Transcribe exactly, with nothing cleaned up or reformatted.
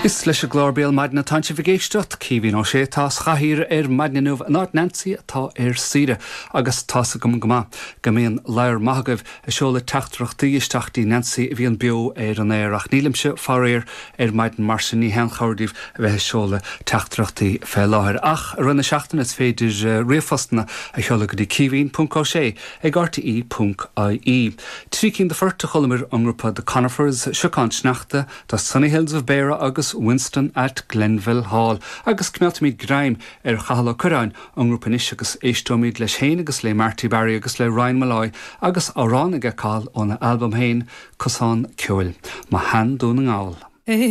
Is leis an gclár Béal Maidine atá sibh ag éisteacht Caoimhín Ó Sé atá sa chathaoir ar maidin inniu in áit Nancy atá ar saoire agus tá's agam go maith go mbíonn lear maith agaibh ag seoladh teachtaireachtaí isteach dtí Nancy a bhíonn beo ar an aer ach nílimse faraor ar maidin mar sin ní haon chabhair daoibh a bheith ag seoladh teachtaireachtaí fé láthair ach i rith na seachtaine is féidir eh, ríomhphostanna a sheoladh go dtí caoimhín.ó sé ag RTE.ie. Trí cinn de phoirt a chualamar ón ngrúpa The Conifers, Siocán Sneachta, The Sunny Hills of Beara agus Winston at Glenville Hall, agus coimeádfaimid greim ar Chathal Ó Curráin ón ngrúpa anois agus éisteoimid leis féin agus le Marty Barry agus le Ryan Molloy agus amhrán aige Cathal óna albam féin Cosán Ceoil, Mo Shean-Dún na nGall.